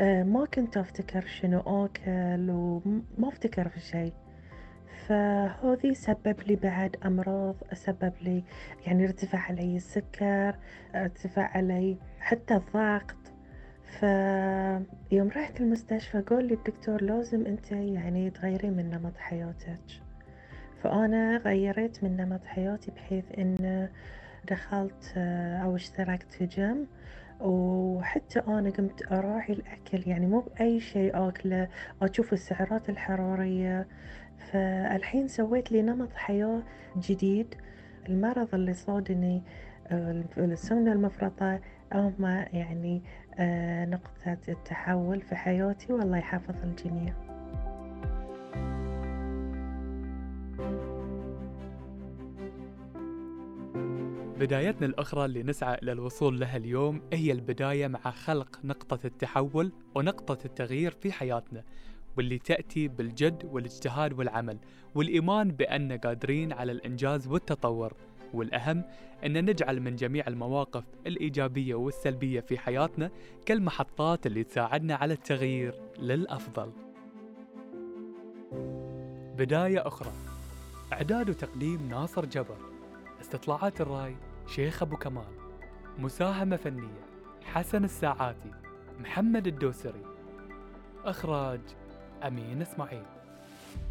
ما كنت أفتكر شنو آكل وما أفتكر في شي. فهذي سبب لي بعد أمراض، سبب لي يعني ارتفع علي السكر، ارتفع علي حتى الضغط. فيوم رحت المستشفى قال لي الدكتور لازم انت يعني تغيرين من نمط حياتك. فأنا غيرت من نمط حياتي بحيث إن دخلت أو اشتركت في جيم. وحتى أنا قمت أراعي الأكل، يعني مو بأي شيء آكله، أشوف السعرات الحرارية. فالحين سويت لي نمط حياة جديد. المرض اللي صادني السمنة المفرطة هما يعني نقطة التحول في حياتي، والله يحفظ الجميع. بدايتنا الأخرى اللي نسعى إلى الوصول لها اليوم هي البداية مع خلق نقطة التحول ونقطة التغيير في حياتنا، واللي تأتي بالجد والاجتهاد والعمل والإيمان بأننا قادرين على الإنجاز والتطور. والأهم أن نجعل من جميع المواقف الإيجابية والسلبية في حياتنا كالمحطات اللي تساعدنا على التغيير للأفضل. بداية أخرى، إعداد وتقديم ناصر جبر، استطلاعات الرأي شيخ أبو كمال، مساهمة فنية حسن الساعاتي، محمد الدوسري، إخراج أمين إسماعيل.